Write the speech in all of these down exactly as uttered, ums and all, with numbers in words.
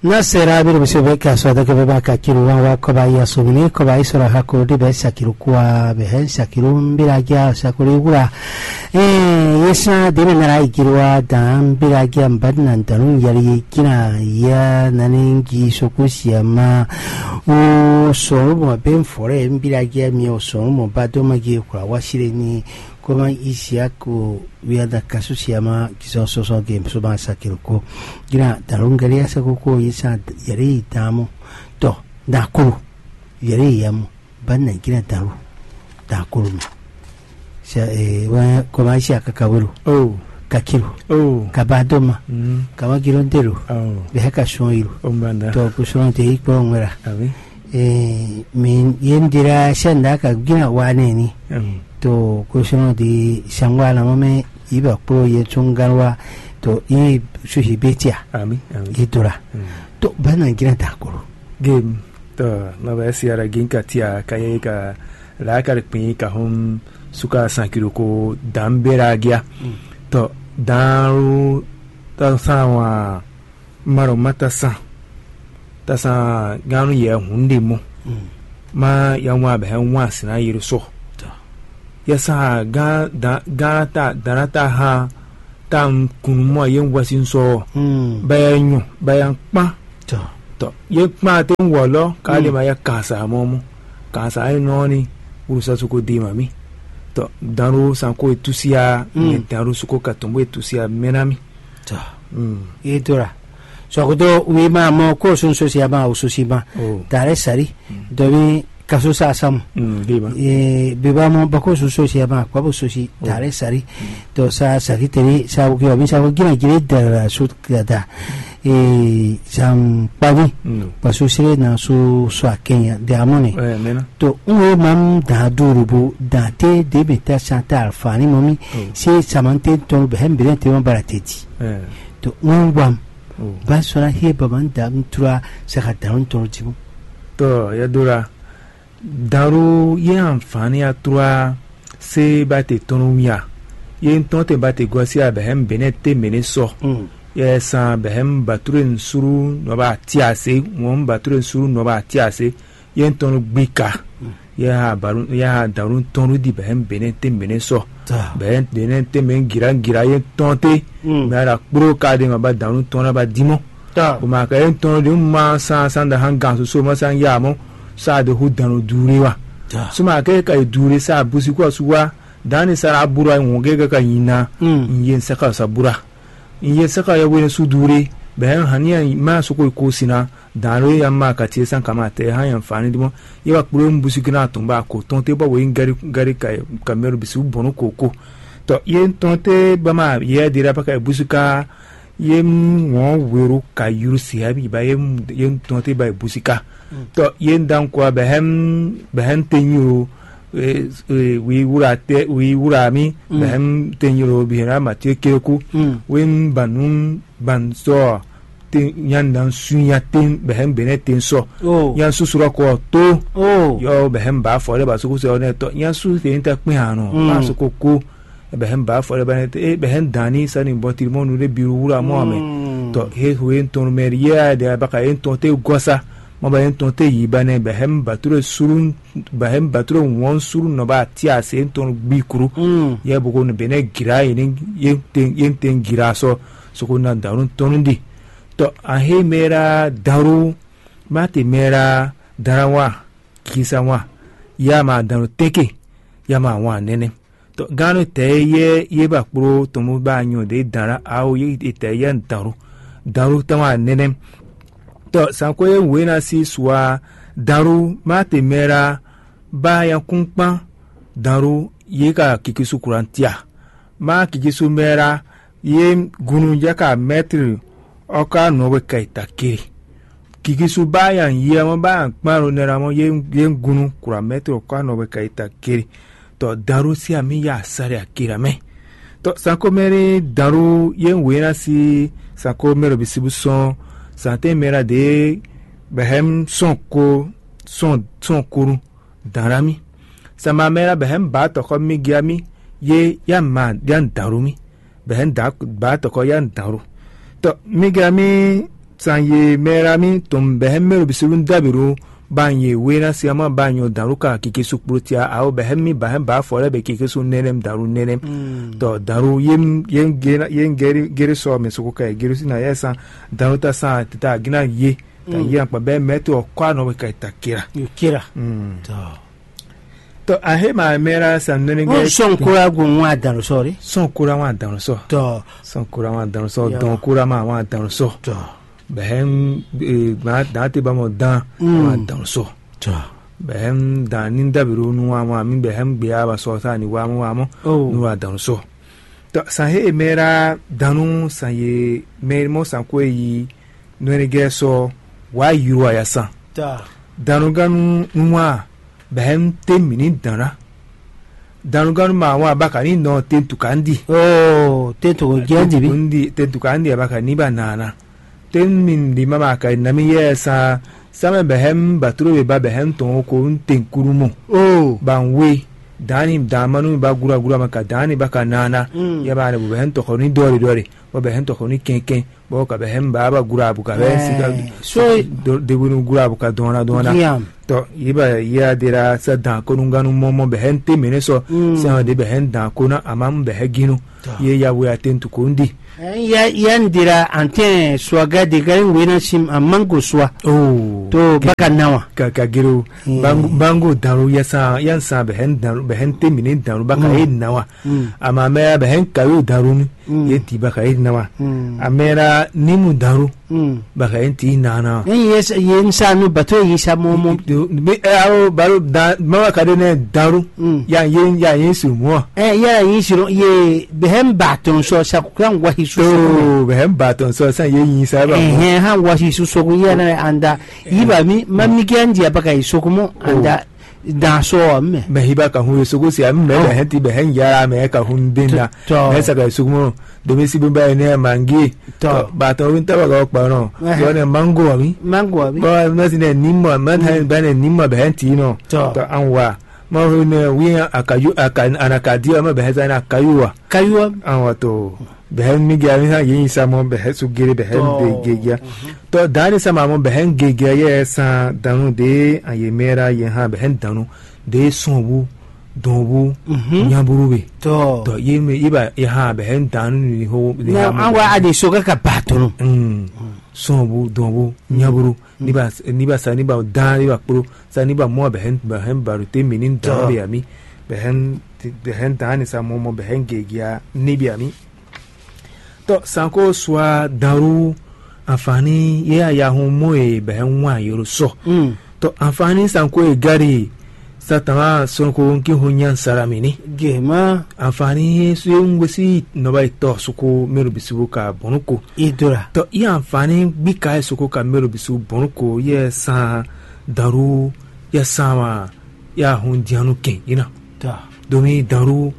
Na sera biro bisi bɛ ka sɔ dɔkɛ bɛ ba ka kiru wan wa kɔba ya so mini kɔba isɔrɔ ha ko de bɛ sakiru kwa bɛ hɛ sakiru mbira ja sakuri wura. Ee, yesa de mɛ nara ikiru wa dan mbira ja mbadi na dalu yali ye kina ya nani ngi soko siama. O sɔrɔ mɔ bɛ mfɔrɛ mbira ja mi o sɔrɔ mɔ ba dɔ ma gi kura wa sire ni kɔma Isiaku wiada kasu siama kisɔ sɔsɔ ge so ma sakiru ko. Gina dalu ngɛli ya sako ko yesa yali dan mɔ. Tɔ dan kolo yali ya mɔ. Ba na gina dalu dan kolo mɛ. Sa ee wa kɔma Isia kaka welo. Oh. Kakilo. Oh. Kaba doma. Mm. Kama giro ndelo. Oh. Bɛ hɛ ka sɔn yilo. Oh, mbanda. Tɔ ko sɔn te yi kpɔ ŋwɛra. Abi. Ee, mi ye n dira sɛnda ka gina wa ne ni. Mm. To ko sɔn de sangwa na mɔ mɛ iba kpo ye tsungalwa to i susi betia. Ami, ami. Idora. Mm. To ba na gina da kolo. Game. Tɔ nɔbɛ siara gin ka tia ka ye ka la ka kpin ka hom suka sankiro ko dambera gia. Mm. Tɔ dan ru ta san wa maro mata san ta san ganu yɛ hun de mo. Mm. Ma ya wa bɛ wa sina yero so. Tɔ. Ya sa gan dan gan ta dan ta ha ta kun mo ye wa sin so. Mm. Ba ya nyu ba ya kpa. Tɔ. Tɔ ye kpa te wɔ lɔ ka de ma ya kansa mɔ mo. Kansa ye nɔ ni wulu sa suko de ma mi. Tɔ dan ru san ko e tusia. Mm. Ye dan ru suko ka tombo e tusia mena mi. Tɔ. Mm. Ye to la. Sɔkudo wi ma mɔ ko sun sosi ma o sosi ma. Oh. Tare sari. Mm. Domi kaso sa samu. Mm, de ma. Ee, beba mɔ bako sun sosi ma kwa bo sosi tare sari. To sa saki teri sa wuki omi sa wuki na jire dara su dada. Ee, sam kpani. Mm. Paso sire na su so akenya de amone. Eh, mena. To un e mam da duru bo da te de beta santa alfani momi. Mm. Se samante ton be hem bere te ma bara teti. Eh. To un wam. Mm. Ba sona hie baba da tura saka da un ton tibu. To ya dora. Daru ye anfani atura se ba te tɔnu wia. Ye ntɔn te ba te gɔsi a bɛ hem bene te mene sɔ. Mm. Ye san bɛ hem bature nsuru nɔba tia se. Wɔn bature nsuru nɔba tia se. Ye ntɔnu gbika. Mm. Ye ha baru ye ha daru ntɔnu di bɛ hem bene te mene sɔ. Bɛ hem bene te mene gira gira ye ntɔn te. Mm. Mɛ ara kpro ka de ma ba daru ntɔn na ba dimɔ. O ma ka ye ntɔn de ma san san da han gan soso ma san ya mo. Sa de hu dan o dure wa. So ma ke ka ye dure sa busi ko su wa. Dan ni sara bura won ke ka yin na. Mm. Ye saka sa bura. Ye saka ya wene su dure. Bɛ han ni ma so ko ko sina. Dan re ya ma ka tie san kama te han ya fani dimo. Ye wa kpro mbusi gina tun ba ko ton te ba wo yin gari gari ka ka mero bisu bonu koko. To ye ntɔn te ba ma ye de ra ba ka busu ka. Ye wɔn wero ka yuru si abi ba ye ye ntɔn te ba busu ka. To ye dan ko ba hem ba hem te nyuro. Wi wura te wi wura mi ba hem te nyuro bi ra ma tie keku. We ba nu ban sɔ te nyan dan su nya ten bɛ hɛn gbe nɛ ten sɔ. Oh. Nya su surɔ kɔ to. Oh. Yɔ bɛ hɛn ba fɔ ɖe ba suku sɛ ɔnɛ tɔ nya su te ta kpɛn hàn nɔ. Mm. Ma soko ko bɛ hɛn ba fɔ ɖe ba nɛ te bɛ hɛn dan ni sani bɔ tirimɔnu ɖe biru wura mɔ amɛ. Mm. Tɔ he ho ye ntɔn mɛ yɛ de abaka ye ntɔn te gɔsa. Mɔ ba ye ntɔn te yi ba nɛ bɛ hɛn ba to ɖe suru bɛ hɛn ba to ɖe wɔn suru nɔ ba ti ase ntɔn gbi kuru. Mm. Yɛ boko ne bɛ nɛ gira ye ne ye ten ye ten gira sɔ. Soko na danu tɔnu di. Tɔ ahe mera daru mate mera darawa kisa wa ya ma danu teke ya ma wa nene. Tɔ ganu tɛ ye ye ba kpro tɔmu ba nyɔ de dara awo ye tɛ ye daru daru tama nene. Tɔ sanko ye wena si sua daru mate mera ba ya kun kpan daru ye ka kikisu kurantia. Ma kikisu mera ye gunu jaka mɛtri ɔka nɔwe ka ita kiri. Kikisu ba yan yia mɔ ba yan kpan ro nɛra mɔ ye ye gunu kura mɛtri ɔka nɔwe ka ita kiri. Tɔ daru si ami ya sari akira mɛ. Tɔ sanko mɛri daru ye wena si sanko mɛri bisibu sɔn sante mɛra de bɛhɛm sɔn ko sɔn sɔn kuru danra mi. Sama mɛ la bɛ hɛn ba tɔkɔ mi gya mi ye ya ma ya daro mi. Bɛ hɛn da ba tɔkɔ ya daro. Tɔ mi gya mi San ye mɛ la mi tɔn bɛhɛ mɛ lo bisu dun dabi ɖo ban ye we na si ama ban nyɔ dan lu ka keke su kplo tia awo bɛhɛ mi ba hɛ ba fɔ lɛ bɛ keke su nɛnɛ dan lu nɛnɛ. Tɔ dan lu ye ye gere sɔ mɛ soko ka ye gere si na yɛ san dan lu ta san ta gina ye ta ye akpa bɛ mɛ to ɔkɔ anɔ bɛ ka ta kira. Yo kira. Tɔ. Tɔ a he ma mɛ la san nɛnɛ Wọ́n gɛ sọ̀n kóra gun wọn àdàlù sọ rí. Sɔn kura wan dan sɔ. Tɔ. Sɔn kura wan dan sɔ. Ya. Dɔn kura ma wan dan sɔ. Tɔ. Bɛhɛm dan te ba mɔ dan Mm. Wan dan sɔ. Tɔ. Bɛhɛm dan ni dabi ɖo nu wa wan mi bɛhɛm gbe ya ba sɔ sa ni wa mɔ wa mɔ Oh. Nu wa dan sɔ. Tɔ san he mɛ la danu san ye mɛ mɔ san ko yi nɔnɛgɛ sɔ wa yuru aya san. Tɔ. Danuganu nwa bɛhɛm te mi ni dan la. Danuganu ma wan baka ni nɔ te tukandi. Oh, te to jɛ dibi. Tukandi te tukandi baka ni ba nana. Te mi di ma ma ka na mi yɛ sa samɛ bɛhɛm baturo be ba bɛhɛm tɔn ko n te kuru mo. Oh. Ban we dani dan manu ba gura gura ma ka dani ba ka nana. Mm. Ya ba ne bu bɛhɛm tɔkɔ ni dɔri dɔri. Bɔ bɛhɛm tɔkɔ ni kɛnkɛn. Bɔ ka bɛhɛm ba ba gura bu ka bɛ si ka Eh, so debunu gura bu ka dɔn na dɔn na. Yam. Tɔ yi ba yi a de la sa dan konunganu mɔmɔ bɛhɛm te mene sɔ. Mm. Sɛ de bɛhɛm dan kona amam bɛhɛ ginu. Tɔ. Ye ya we atentu ko ndi. Eh, ya ya n dira antɛn swaga de gari wena sim a mango swa. Oh. To baka nawa. Ka ka gero. Mm. Bango bango danlu ya sa ya sa bɛhɛm danlu bɛhɛm te mene danlu baka Mm. E nawa. Mm. Ama mɛ bɛhɛm kayo danlu ni. Mm. Ye ti baka e nawa. Mm. Amɛra nimu danlu. Mm. Baka e ti nana. Ni ye ye nsa nu bato yi sa mo mo. Be awo balo da mama ka de ne danlu. Mm. Ya ye ya ye su mo. Eh, ya yi siro ye behem baton so sa kuran wa hisu. To bɛhɛm ba tɔn sɔ san ye yin sa ba mo. Eh, han wa hisu so ku ya na anda. Yiba mi ma mi ke andi abaka yi so ku mo anda dan so mɛ. Mɛ hiba ka hun ye soko si a mɛ bɛhɛn ti bɛhɛn yara mɛ ka hun den na. Tɔ. Mɛ sa ka ye soko mo domi si bimba ye ne mangi. Tɔ. Ba tɔ win taba ka kpa nɔ. Ɛhɛn. Yɔ ne mango wa mi. Mango wa mi. Bɔ mɛ si ne ni mɔ mɛ ta ba ne ni mɔ bɛhɛn ti nɔ. Tɔ. Tɔ an wa. Ma hu ne wi akaju aka anakadi wa ma bɛhɛn sa ne akayu wa. Kayuwa. An wa to. Bɛhɛn mi gɛ mi ha ye yin sa mɔ bɛhɛn su gere bɛhɛn de gegia. Tɔ dani sa ma mɔ bɛhɛn gegia yɛ san danu de an ye mɛra ye ha bɛhɛn danu de sɔn bu dɔn bu nyaburu be. Tɔ. Tɔ ye me ye ba ye ha bɛhɛn danu ni ho. Na an wa adi so ka ka ba tɔnɔ. Sɔn bu dɔn bu nyaburu ni ba ni ba sa ni ba dan ni ba kplo sa ni ba mɔ bɛhɛn bɛhɛn baru te mi ni dɔn be ami bɛhɛn bɛhɛn dani sa mɔ mɔ bɛhɛn gegia ni be ami. Tɔ sanko sua danru anfani ye ayahun mɔ e bɛhɛn wan yoro sɔ. Tɔ anfani sanko e gari satan sɔnko nki ho nyan saramini. Gema. Anfani su ye ŋgwesi nɔba yi tɔ suko mɛro bisibu ka bɔnu ko. Idora. Tɔ i anfani gbika ye suko ka mɛro bisibu bɔnu ko ye san danru ye san wa ya hun dianu kɛn ina. Tɔ. Domi danru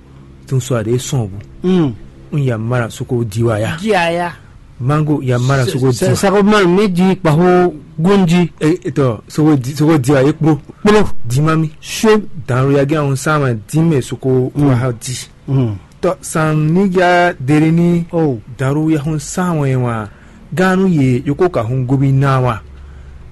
tun sɔ ade sɔn bu. Mm. Un ya mara suko diwa ya. Diaya. Mango ya mara suko diwa. Sako mara mi di kpaho gundi. E tɔ suko di suko diwa ye kplo. Kplo. Dima mi. So. Danru ya gɛ un sama dime suko wa ha di. Mm. Tɔ san ni ya dere ni. Oh. Danru ya hun san wɛ wa. Ganu ye yoko ka hun gobi na wa.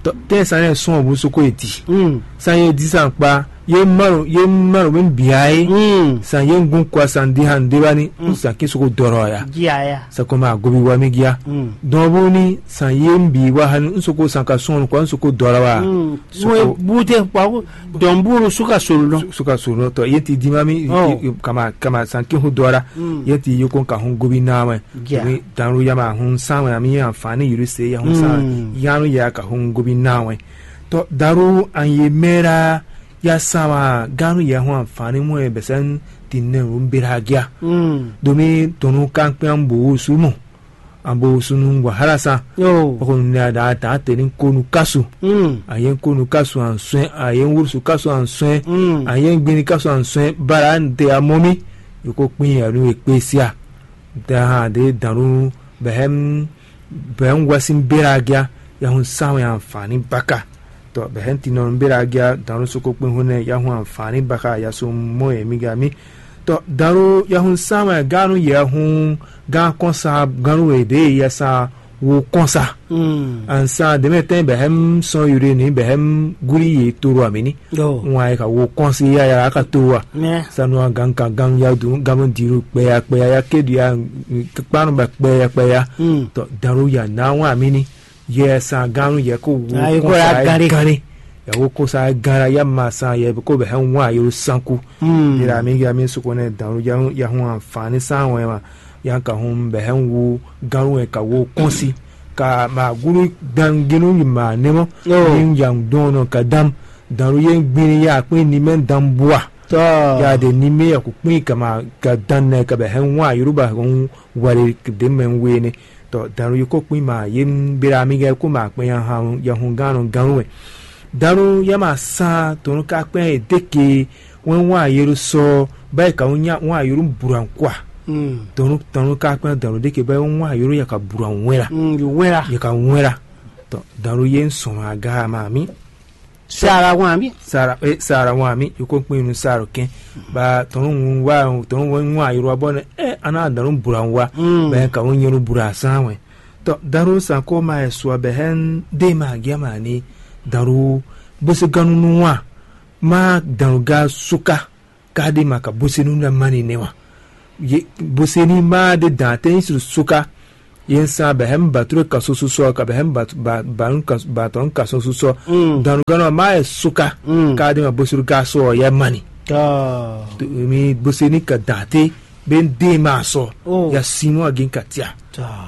Tɔ tɛ san ne sɔn bu soko e di. Mm. San ye di san kpa ye maro ye maro mi bia ye. Mm. San ye gun kwa san di han de bani. Mm. San ki soko dɔrɔ ya. Diaya. Sa kɔmi agobi wa mi gia. Mm. Dɔn bu ni san ye bi wa hani n soko san ka sɔn kwa n soko dɔrɔ wa. Mm. Soko. Bute kwa dɔn buru suka solo. Suka solo tɔ ye ti di ma mi. Oh. Kama kama san ki hu dɔra. Mm. Ye ti yoko ka hun gobi na wɛ. Danru ya ma hun san wɛ ami anfani yuru se ya hun san yanu ya ka hun gobi na wɛ. Tɔ danru an ye mɛra ya san wa ganu ya hun anfani mu e bɛsɛn ti ne ru bera gia. Domi tɔnu kan kpɛ an bo su mo. An bo su nu wahala san. Yo. Bako ne da da te ni konu kasu. An ye konu kasu an sɔn an ye wusu kasu an sɔn. An ye gbini kasu an sɔn bara an te amɔ mi. Yoko kpin ya nu e kpe sia. Daha de danru bɛhɛm bɛhɛm wasin bera gia ya hun san wɛ anfani baka. Tɔ bɛhɛm tinɔ bera gia danru soko kpin hun ne ya hun anfani baka ya so mɔ ye mi ga mi. Tɔ danru ya hun san wɛ ganu ya hun gan kɔn sa ganu e de ya sa Wo kɔn sa. Ansa deme tɛn bɛ hɛm sɔn yure ni bɛ hɛm guri ye toro amini. Wan ye ka wo kɔn si ya ya ka to wa. Sanu gan kan gan ya dunu gan diru kpɛ ya kpɛ ya ya ke du ya kpanu ba kpɛ ya kpɛ ya. Tɔ daru ya na wan amini. Yɛ san gan yɛ ko wo kɔn sa ya gari. Ya wo kɔn sa ya gan ya ma san yɛ ko bɛ hɛm wan yoro sanku. Yira mi ya mi sukɔ ne daru ya ya hun anfani san wɛ ma. Yan ka hun bɛ hɛn wu gánlú wɛ ka wo kɔ́n sí, ka ma gúlú gbangínú yi ma nɛ́ mɔ́. Ní yan dɔn nɔ ka dán danlú yé gbini ya kpín ní mɛ dán bua. Ya de ní mɛ ya kú kpín ka ma ka dán nɛ ka bɛ hɛn wu ayúrúba hɔn wɛrɛ de mɛ we ne. Tɔ danlú yé kó kpín ma yé bera mi gɛ kó ma kpɛn ya han ya hun gánlú gánlú wɛ. Danlú ya ma sán tɔnú ka kpɛn e deke wɛn wan ayélu sɔ báyìí ka wɛn nya wan ayélu burankwa. Dɔnnu tɔnnu ka kpɛn dɔnnu ɖe ke báyìí wɛn wan ayélu ya ka buran wɛn la. Wɛn la. Ya ka wɛn la. Tɔ dɔnnu yé ń sɔn aga ma mi. Sara wan mi. Sara e sara wan mi yoko kpɛn nu sara kɛn. Ba tɔnnu ŋun wa tɔnnu wɛn wan ayélu wa bɔ ne ɛ ana dɔnnu buran wa. Bɛ ka wɛn nyɛlu buran san wɛn. Tɔ dɔnnu san ko ma ɛ sua bɛ hɛn de ma gya ma ni dɔnnu bó se ganu nu wan. Ma dɔnnu ga suka. Ka ɖi ma ka bosenu na mani nɛ wa. Ye boseni ma ɖe dan te nyi su suka. Ye nsa bɛ hɛm batro ka so susɔ ka bɛ hɛm batɔn ka so susɔ. Danu gana ma yɛ suka. Ka ɖi ma bosenu ka so ya mani. Mi boseni ka dan te be de ma sɔ. Ya sinu agin ka tia.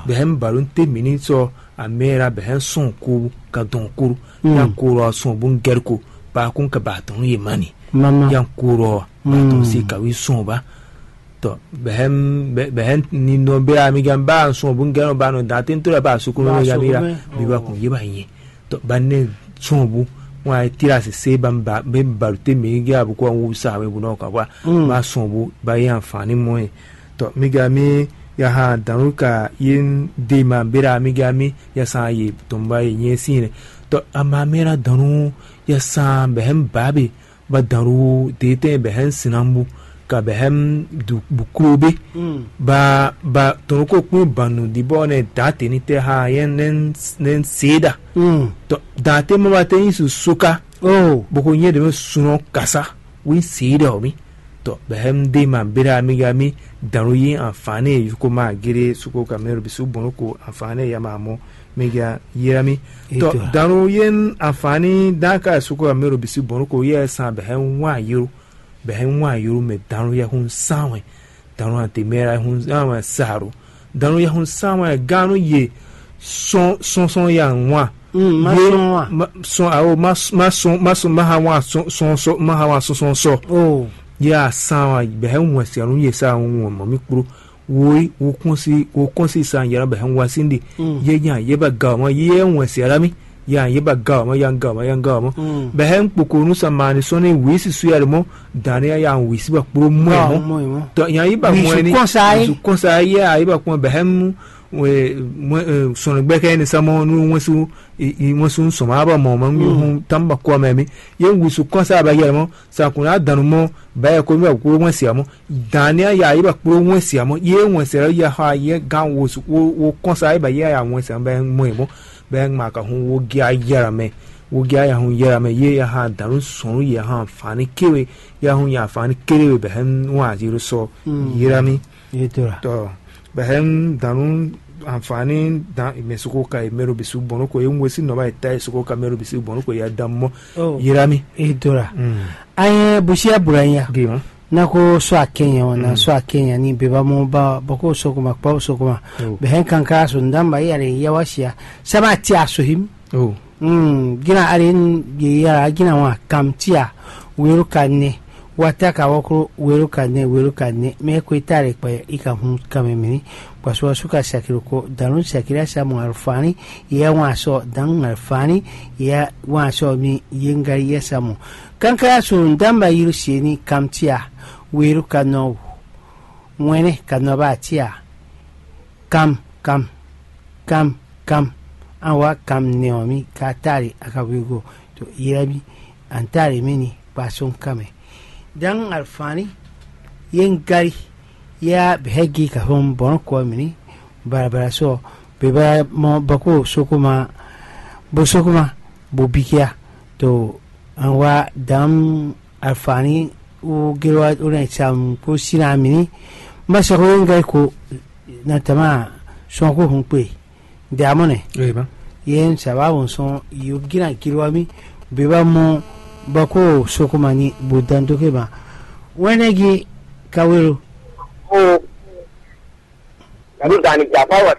Bɛ hɛm balon te mini sɔ amɛra bɛ hɛm sɔn ko ka dɔn kuru. Ya koro sɔn bo ngɛr ko ba kun ka ba tɔn ye mani. Yan kuro ɔ ba tɔn si kawi sɔn ba. Tɔ bɛhɛn bɛhɛn ni nɔ bɛ amigan ba sɔn bu ngɛn ba nɔ da tento lɛ ba sukulu mɛ ya mi la bi ba kun ye ba nyɛ. Tɔ ba ne sɔn bu wọn ayi tira sese ba ba bɛ balu te mi gɛ abu ko wu sa wɛ bu nɔ ka wa ba sɔn bu ba ye anfani mɔ ye. Tɔ mi ga mi ya ha danu ka ye de ma bera mi ga mi ya san ye tɔn ba ye nyɛ si ne. Tɔ ama mi la danu ya san bɛhɛn ba be ba dǎnɖu deetɛn bɛ hɛn sinambu ka bɛ hɛn buklobe. Ba ba tɔnɔkokpin banu dibɔ nɛ dǎ teni tɛ ha yɛn nɛn seeda. Tɔ dǎ te mɔ ba te nyi su soka boko nyɛ ɖe mɛ sunɔ kasa wí seeda ɔ mi. Tɔ bɛ hɛn de ma bera mi ga mi dǎnɖu yi anfani yukoma gere suko kamɛro bisu bɔnɔ ko anfani ya ma mɔ. Mi ga yira mi. Tɔ danu ye anfani dan ka suko amero bisi bɔnu ko ye san bɛ hɛn wan yoro bɛ hɛn wan yoro mɛ danu ya hun san wɛ. Danu ante mɛ ya hun san wɛ saro danu ya hun san wɛ ganu ye sɔn sɔn sɔn ya wan. Ye ma sɔn awo ma ma sɔn ma sɔn ma ha wan sɔn sɔn sɔ ma ha wan sɔn sɔn sɔ. Ya san wɛ bɛ hɛn wan si anu ye sa wan mɔ mi kplo. Wo yi wo kɔn si wo kɔn si san yɛrɛ bɛ hɛn wa sin de. Ye nya ye ba ga ma ye wɛn si ara mi. Ya ye ba ga ma ya ga ma ya ga ma bɛ hɛn kpokonu san ma ni sɔn ni wi si su yɛrɛ mɔ. Dan ni ya wi si ba kplo mɔ ɛ mɔ. Tɔ nya yi ba mɔ ɛ ni kɔn sa ye. Kɔn sa ye a yi ba kpɔn bɛ hɛn mu sɔn gbɛ kɛ ni sa mɔ nu wɛn su wɛn su sɔn ma ba mɔ ma nu hun tam ba kɔ mɛ mi. Ye wi su kɔn sa ba yɛrɛ mɔ. Sa kun na danu mɔ ba yɛ ko mi ba kplo mɔ si amɔ. Daniel ya yi ba kplo wɛn si amɔ ye wɛn sɛ ya ha ye gan wo wo kɔn sa yi ba ye ya wɛn si amɔ bɛ mɔ ye mɔ bɛ ma ka hun wo gya yɛrɛ mɛ. Wo gya ya hun yɛrɛ mɛ ye ya ha danu sɔn ye ha fani kewe ya hun ya fani kewe bɛ hɛn wa zero sɔ yira mi. Tɔ bɛ hɛn danu anfani dan mɛ soko ka ye mɛro bisu bɔnɔ ko ye ŋwe si nɔ ba ye ta ye soko ka mɛro bisu bɔnɔ ko ya dan mɔ yira mi. Edora. Ayɛ busia bura ya. Gima. Na ko sɔ akɛnya o na sɔ akɛnya ni beba mo ba bɔ ko sokoma kpa sokoma. Bɛ hɛn kankara so ndamba ya le ya wa sia. Sama ti asohim. Oh. Mm, gina ari ye ya gina wa kam tia. Weru ka ne. Wata ka wɔkro weru ka ne weru ka ne. Me ko itare kpa i ka hun kamemini. Kwa so su ka sakiro ko danu sakira samu alfani. Ya wa so dan alfani. Ya wa so mi yenga ya samu. Kankara so ndamba yiru sieni kam tia. Weru ka no. Wɛnɛ ka no ba tia. Kam kam kam kam. An wa kam nɛ ɔ mi ka tari a ka wigo to yira mi. An tari mi ni kpa so kamɛ. Dan alfani ye n gari ya bɛ hɛgi ka fɔn bɔn kɔ mi ni. Barabara sɔ. Beba mɔ bako sokoma, bo sokoma, bo bikia to anwa dam afani u gero u ne sam ko sina mini. Ma sako yo ngai ko na tama sɔn ko hun kpe. Nde amɔ ne. Eba. Yen saba won sɔn yo gina giro ami. Beba mɔ bako sokoma ni bo dan do ke ma. Wene gi kawero. O. Nanu dani japa wa.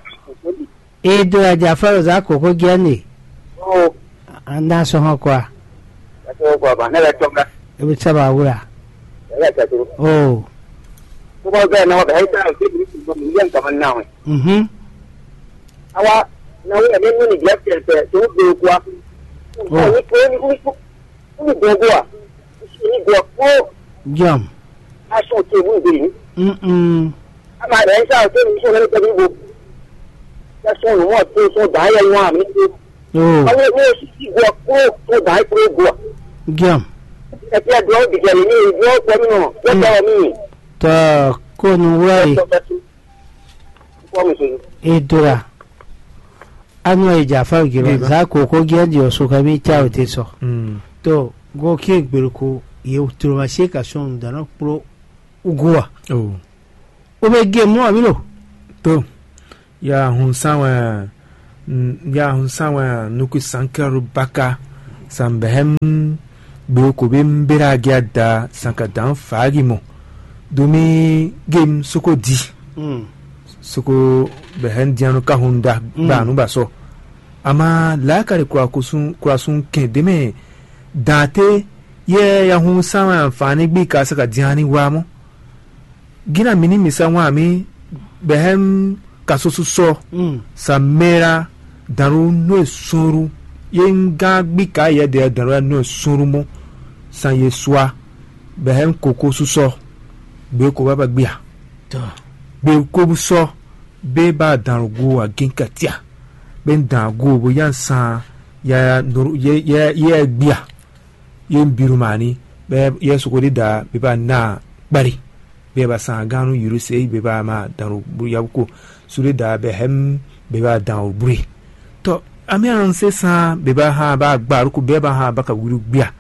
E do ya japa wa za koko giande. O. Anda so ho kwa. Ato kwa ba ne la tonga. E bi saba wura. Ya ya to. O. Ko ba ga na wa ba ha ta ke bi ko mi yan ka man na we. Mhm. Awa na we ne ni dia te te to do kwa. O. Ni ko ni ko ni ko ni do kwa. Ni do ko. Jam. Aso te bu de. Mhm. Ama ɖe sa te ni so ne te bu. Ya so no mo te so da ya wa mi. Oh. Awo wo sisi gua kúrò tó dǎ é kúrò gua. Giam. Ẹtí ẹ dúró dìgbà lè ní ìlú ọgbọ mi nọ yóò tọrọ mí. Tɔ kó nu wúrà yìí. Kọ́ mi sọ. Edora. Anu e dza fa giro. Za koko gya di osu ka mi tsa o te sɔ. To go ke gbèrò ko ye toro ma se ka sɔn dana kplɔ ugoa. Oh. O bɛ gé mɔ àmì lò. To. Ya hun san wɛ, ya hun san wɛ nukwi sankɛru baka san bɛhɛm gbe ko be mbera gia da san ka dan fagi mo. Domi gem soko di. Soko bɛhɛm dianu ka hun da ba nu ba sɔ. Ama la kari kura kusun kura sun kɛn deme dante ye ya hun san wɛ anfani gbi ka sa ka diani wa mo. Gina mini misa wan mi bɛhɛm kasoso sɔ sa mera danru nue sunru ye nga gbi ka yɛ de danru nue sunru mo san ye sua bɛhɛm koko susɔ gbe ko baba gbia gbe ko bu sɔ be ba danru go agin katia be dan go bo yan san ya ya ye ye gbia. Ye un biru mani bɛ yɛ soko ɖe da be ba na kpali bɛ ba san ganu yuru se be ba ma dan ɖo yabuko su ɖe da bɛ hɛm be ba dan o bure. Tɔ ami an se san be ba ha ba gba ruku bɛ ba ha ba ka wuru gbia.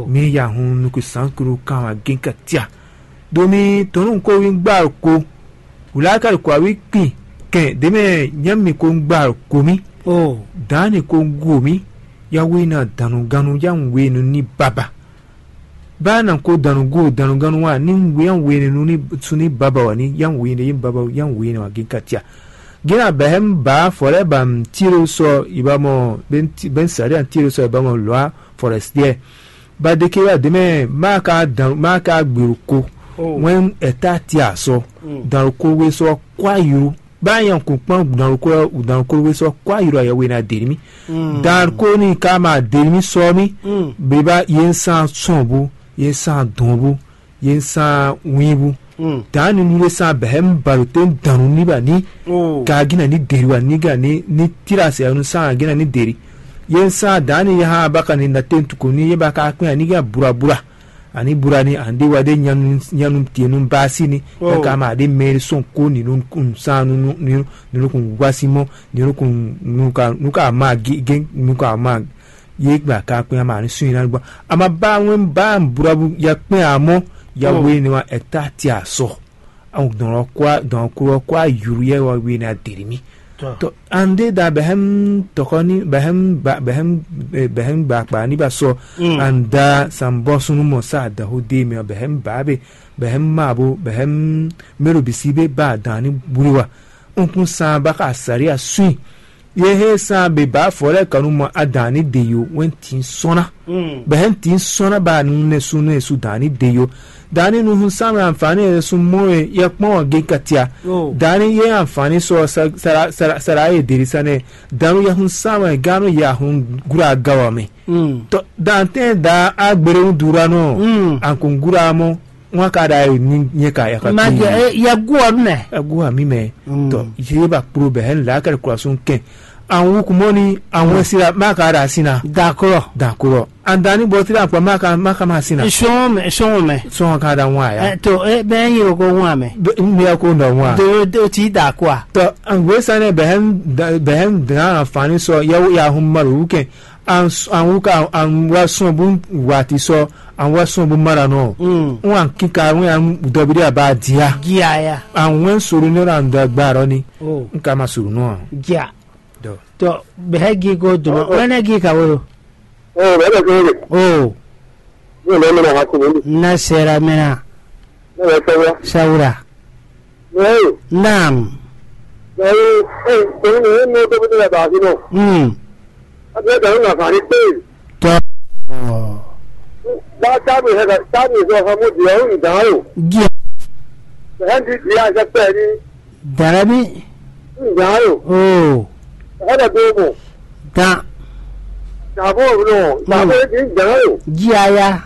Mi ya hun nuku san kuru kan wa gen ka tia. Domi tɔnu ko wi gba ko wula ka ko awi kpin kɛn deme nyami ko gba ko mi. Dan ni ko go mi. Ya we na danuganu ya wenu ni baba. Ba na ko danugo danuganu wa ni we ya wenu ni suni baba wa ni ya wenu ye baba ya wenu wa gen katia. Gina bɛhɛm ba fɔlɛ ba tiro sɔ ibamɔ ben sari an tiro sɔ ibamɔ lɔa forestier. Ba deke wa deme ma ka dan ma ka gberu ko. Wɛn ɛta ti asɔ dan ko we sɔ kwa yuru. Ba yan kun kpɔn dan ko dan ko we sɔ kwa yuru ayɛ we na deri mi. Dan ko ni ka ma deri mi sɔ mi. Be ba ye san sɔn bu ye san dɔn bu ye san win bu. Dan ni nu le san bɛhɛ mi balo te dan ni ba ni. Ka gina ni deri wa ni ga ni ni tira se anu san gina ni deri. Ye san dan ni ya ha ba ka ni na te ntuko ni ye ba ka kpɛn ani ga bura bura. Ani bura ni an ɖe wa ɖe nyanu nyanu tie nu baasi ni. Ka ma ɖe mɛ sɔn ko ni nu kun san nu nu ni nu kun wasi mɔ ni nu kun nu ka nu ka ma gi gen nu ka ma ye gba ka kpɛn ama ni sun ina gba ama ba wen ba bura bu ya kpɛn amɔ ya we ni wa ɛta ti asɔ. Awon dɔn kwa dɔn kuro kwa yuru yɛ wa we na deri mi. Tɔ an ɖe da bɛhɛm tɔkɔ ni bɛhɛm ba bɛhɛm bɛhɛm gba kpa ni ba sɔ an da san bɔ sunu mɔ sa da ho de mɛ bɛhɛm ba be bɛhɛm ma bo bɛhɛm mɛro bisi be ba dan ni buri wa. Nkun san ba ka sari a sui. Ye he san be ba fɔ lɛ kanu mɔ adan ni de yo wɛn tin sɔn na. Bɛhɛm tin sɔn na ba nu ne su ne su dan ni de yo. Dani nu hun san anfani e sun mɔ e yɛ kpɔn ge katia. Dani ye anfani sɔ sara ye deri sanɛ. Danu yɛ hun san ganu yɛ hun gura gawa mɛ. Tɔ dantɛn da agbere un dura nɔ ankun gura mɔ wọn ka da yi ni nyɛ ka yaka. Ma jɛ ya gu ɔ nɛ. Egu ami mɛ. Tɔ ye ba kplo bɛ hɛn la kɛlɛ kura sun kɛn. An wú kú mɔ ní an wɛn síra má ka ɖa sín ná. D'accord. D'accord. An da ní bɔ tíra kpa má ka má ka má sín ná. Sɔn mɛ, sɔn mɛ. Sɔn ka ɖa ŋu aya. Ɛ to, ɛ bɛ nyi o ko ŋu amɛ. Bɛ n bɛ ko nɔ ŋu a. Do do ti da kɔ a. Tɔ an wɛ sanɛ bɛ hɛn bɛ hɛn dan ànfàní sɔ yɛwò ya hun ma lò wú kɛ. An wú ka an wá sɔn bó wà tí sɔ an wá sɔn bó má ɖa nɔ. N wà kíka wɛn an dɔbi ɖé aba dia. Gia ya. An wɛn soro ní ɔ̀nà an dɔ gba rɔ ni. N ka ma soro nɔ a. Gia. Dɔ. Tɔ bɛ hɛ gi ko duma wɛn ne gi ka wo. Oh, bɛ bɛ ko. Oh. Ni lɛ mɛ na ha ko ni. Na sera mɛ na. Ne bɛ sɛ wa. Sawura. Naam. Naam. Ee, ee, ee, ne dɔ bi ne ba fi nɔ. Mm. A bɛ da na fa ni pe. Tɔ. Ba ta bi he ka ta bi so ha mo di o ndan o. Gia. He ndi di a se pe ni. Darabi. Ndan o. Oh. He da do mo. Dan. Da bo no. Da bo di ndan o. Gia ya.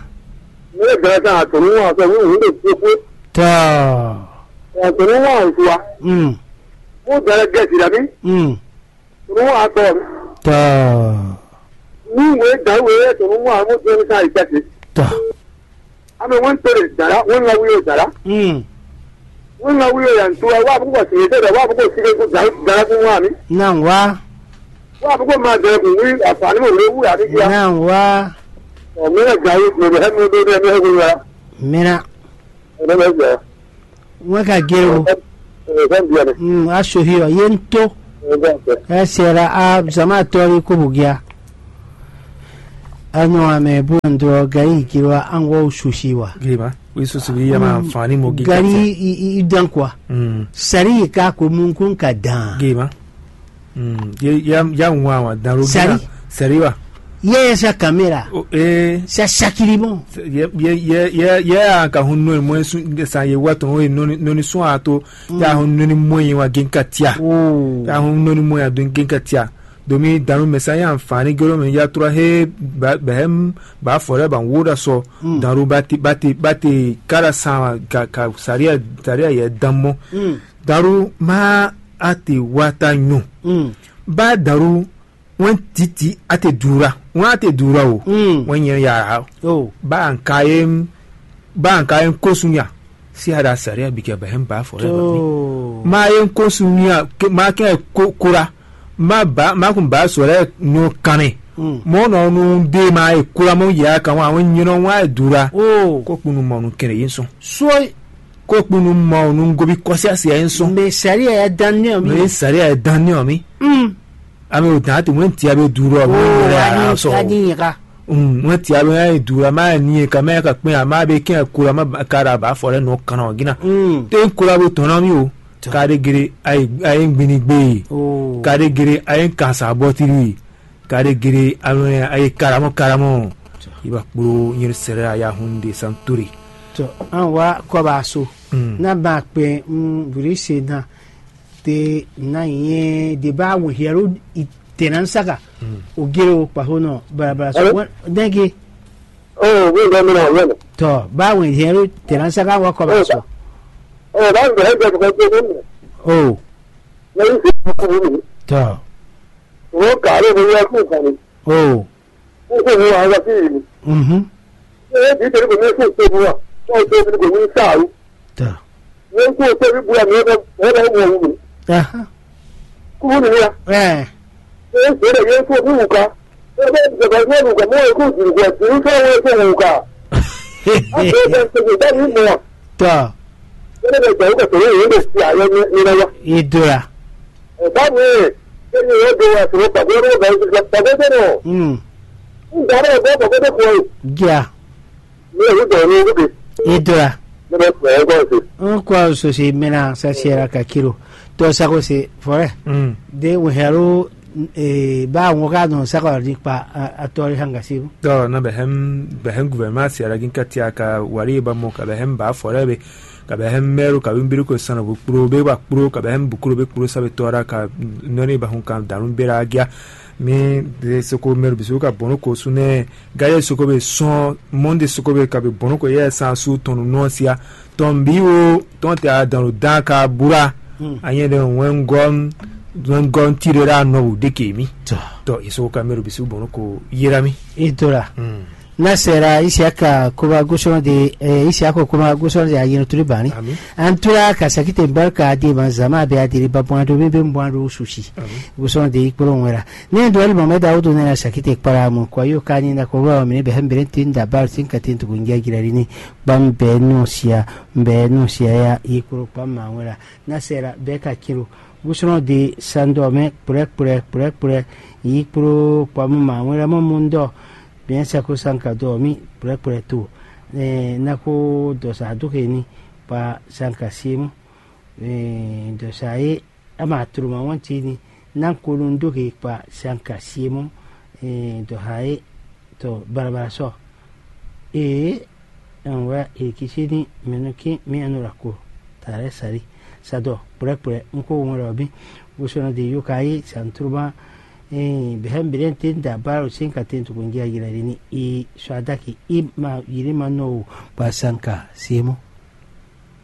Ne da ta to nu a so nu de ko. Tɔ. Ɔ tɔnɔ wa ŋkuwa. Mm. Mo da lɛ gɛ si dami. Mm. Tɔnɔ wa tɔ. Tɔ. Ni wo da wo yɛ tɔnɔ wa mo jɔ ni sa yi kasi. Tɔ. Ame wọn to le dara wọn la wuyo dara. Mm. Wọn la wuyo yan to wa bu ko si de wa bu ko si de ko dara dara ko wa mi. Na wa. Wa bu ko ma dara ko wi afani mo le wu ya ni ya. Na wa. Ɔ mi na ga yi mo be hɛ mo do ne mi hɛ ko ya. Mina. Ɔ ne bɛ ja. Wɛn ka gé o. Ɔ ne bɛ ja. Mm, a so hi ɔ ye n to. Ɔ ne bɛ ja. Ɛ sɛ la a zama tɔ ri ko bu gya. A nyɔ amɛ bu n dɔ gari giro a an wɔ susi wa. Giri ma. Wi susi wi yama fani mo gi. Gari i i dan kwa. Mm. Sari ka ko mu kun ka dan. Giri ma. Mm, ye ya ya ŋu awa dan lo Sari. Sari wa. Ye ya sa kamera. O, eh. Sa sakiri mo. Ye ye ye ye ye a ka hun no mo su de sa ye wa ton we no no ni sun a to. Ya hun no ni mo ye wa gen katia. Oh. Ya hun no ni mo ya don gen katia. Domi danu mesa ya anfani gelo me ya tura he ba behem ba fore ba wo da so. Mm. Daru bati bati bati kara sa ka ka saria saria ye dan mo. Mm. Daru ma a te wata nyo. Mm. Ba daru wen titi a te dura. Wen a te dura o. Mm. Wen nyɛ yara. Oh. Ba an ka ye ba an ka ye kosunya. Si a da sariya bi kɛ ba hɛn ba fɔ lɛ ba mi. Oh. Ma ye kosunya ma kɛ ko kura. Ma ba ma kun ba sɔ lɛ nyo kanɛ. Mm. Mɔ nɔ nu de ma ye kura mɔ ya kan wa wen nyɛ nɔ wa ye dura. Oh. Ko kunu mɔ nu kɛnɛ yin sɔn. Soi. Ko kpunu mɔ nu gobi kɔsi asi ayi sɔn. Mɛ sariya ya dan nɛ mi. Mɛ sariya ya dan nɛ mi. Mm. Ami o dan ti wɛn ti abe duro mi. Oh, wɛn ya ani sɔ. Ani yaka. Mm, wɛn ti abe ya duro ma ni ka ma ka kpɛn ama be kɛn kura ma ka da ba fɔ lɛ nɔ kan o gina. Mm. Te kura bo tɔn na mi o. Ka de gere ayi ayi gbini gbe. Oh. Ka de gere ayi kansa bɔ tiri. Kade gere alɔnya ayi karamɔ karamɔ. Iba kplo nyir sere aya hunde santuri. To an wa kɔba so. Mm. Na ba kpe mm buri se na te na ye de ba wo hiero itenan saka. Mm. O gere o kpa ho no barabara so. Allô? Wa dengi. Oh, oui, oui, oui, oui, oui. To ba wo hiero itenan saka wa kɔba so. Oh, ba wo hiero itenan saka. Oh. Ni si ko ni. To. Wọ́n kà á lóko yẹ kó kàn ní. Oh. Kó kó wọ́n wá sí ìlú. Mhm. Ṣé é bí tẹ̀lé kò ní kó tó bu wa? Kó tó bí kò ní sàrú. Ta. Ní kó tó bí bu wa ní ọ̀dọ̀ ọ̀dọ̀ wọ̀ wù mí. Aha. Kúrú nìyí ya. Eh. Ṣé é ṣe lè yẹ kó bí wù ká? Ṣé é bẹ́ẹ̀ ti jọba ní ẹ̀rù kà mọ́ ẹ̀kú ìdìbò kò sí ní sọ́wọ́ ẹ̀kú wù ká? Á ṣe é bẹ́ẹ̀ ṣe kò bá mi mọ̀. Ta. Ṣé é bẹ́ẹ̀ tẹ̀wé kò tẹ̀wé yìí lè ṣe àyẹ̀ ní ní lọ́wọ́? Ìdúrà. Ɛ ba mi, ke ni yɛ do wa soro kpakpo ɖo ba yi kpakpo ɖe nɔ. Mm. N da ɖe bɔ kpakpo ɖe kɔ yi. Gia. Mi yɛ dɔ ni wuke. Idra. Ne bɛ kpɛ ɛ kɔ se. N kɔ so se mena sa sera ka kilo. To sa ko se fore. Mm. De wo hero e ba wo ka no sa ko di kpa a tori hanga sibu. Dɔ na bɛ hɛm bɛ hɛm gouvernement sera gin katia ka wari ba mo ka bɛ hɛm ba fore be. Ka bɛ hɛn mɛro ka bɛ mbiri ko sɔn nɔ bu kplo be wa kplo ka bɛ hɛn bu kplo be kplo sa be tɔra ka nɔni ba hun kan danu bera agia. Mi de soko mɛro bisu ka bɔnu ko sunɛ. Gade soko be sɔn monde soko be ka be bɔnu ko yɛ san su tɔnu nɔ sia. Tɔn bi wo tɔn te a danu dan ka bura. Anyɛ de wɛn gɔm. Nɔngɔ tirera nɔwu ɖeke mi. Tɔ. Tɔ iso kamero bisu bɔn ko yera mi. Itora. Nasera Isiaka koba gosɔn de, eh, Isiaka koba gosɔn de ayino tuli bani. Ami. Antura ka sakite barka de ma zama be adiri ba bwan do be be bwan do susi. Ami. Gosɔn de ikporo wera. Ne do ali mame da wodo ne na sakite kpara mo kwa yo kani na ko wa mine be hembere tin da bar sin ka tin tugu ngia girari ni. Bam be no sia, be no sia ya ikporo kpam ma wera. Nasera be ka kiro. Gosɔn de sandɔ mɛ kplɛ kplɛ kplɛ kplɛ. Yi kpló kpɔmɔ ma wɛn lɛ mɔ mɔ ndɔ. Bien sako sanka dɔ mi kplɛ kplɛ to. Ɛ nako dɔ sa do ke ni pa sanka siemu. Ɛ dɔ sa ye ama tro ma wɔn ti ni. Nako nu do ke pa sanka siemu. Ɛ dɔ ha ye to barabara sɔ. Ee, ɛn wɛ e kisí ní mɛ nɔ kín mì anɔ ɖo ako ta lɛ́ɛ sali. Sa dɔ kplɛ́kplɛ́ un ko wɔn ɖɔ mì bó sɔ́ nɔ de yó ka yí santruma. Ee, bɛ̌ mǐɖɛɛ tɛ́ da bálo sín ka tɛ́n tukunjí ayilɛ ɖe ní i sɔ adáki i ma yǐ ní ma nɔ o gba sanka siemɔ.